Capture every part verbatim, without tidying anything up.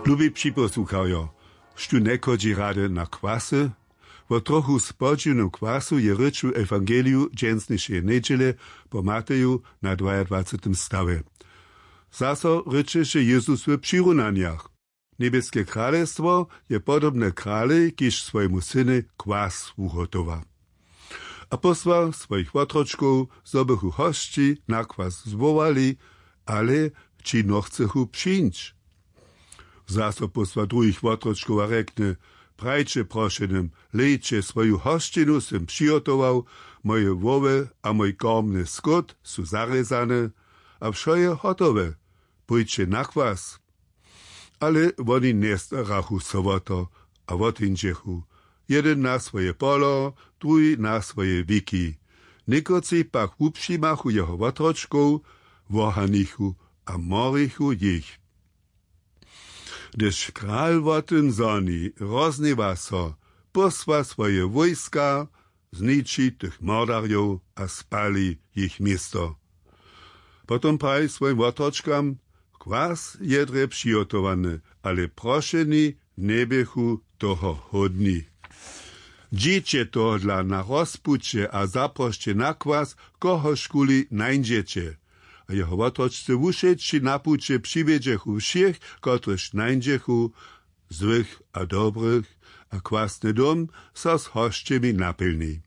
Lubi připosłuchajo, štó njechodźi rady na kwasy? Wo trochu spodźiwnym kwasu je rěč w ewangeliju dźensnišeje njedźele po Mateju na dwajadwacetym stawje. Zaso rěčeše Jezus w přirunanjach. Njebjeske kralestwo je podobne kralej, kiž swojemu synej kwas wuhotowa. A posła swojich wotročkow, zo bychu hosći na kwas zwołali, ale ći nochcechu přińć. Zaso posła druhich wotročkow a rjekny: „Prajće prošenym: Hlejće, swoju hosćinu sym přihotował, moje wołwy a mój kormny skót su zarězane, a wšo je hotowe. Pójće na kwas.“ Ale woni njestarachu so wo to a wotińdźechu, jedyn na swoje polo, druhi na swoje wiki. Někotři pak wupřimachu jeho wotročkow, wohanichu a morichu jich. Hdyž kral wo tym zhoni, rozhněwa so, posła swoje wójska, zniči tych mordarjow a spali jich město. Potom praji swojim wotročkam: „Kwas je drje přihotowany, ale prošeni njeběchu toho hódni. Dźiće tohodla na rozpuće a zaprosće na kwas, kohožkuli nańdźeće.“ A jeho wotročce wušeći na puće přiwjedźechu wšěch, kotrychž nańdźechu, złych a dobrych, a kwasny dom so z hosćemi napjelni.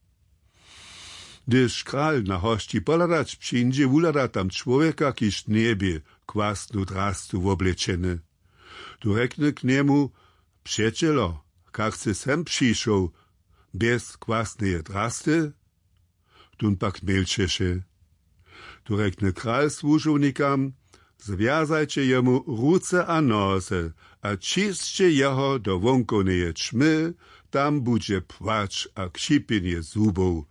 Hdyž kral na hosći pohladać přińdźe, wuhlada tam čłowjeka, kiž njebě kwasnu drastu woblečeny. Tu rjekny k njemu: „Přećelo, kak sy sem přišoł bjez kwasneje drasty?“ Tón pak milčeše. Tu rjekny kral słužownikam: „Zwjazajće jemu ruce a noze a ćisće jeho do wonkowneje ćmy, tam budźe płacz a křipjenje zubow.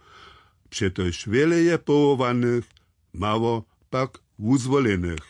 Přetož wjele je powołanych, mało pak wuzwolenych.“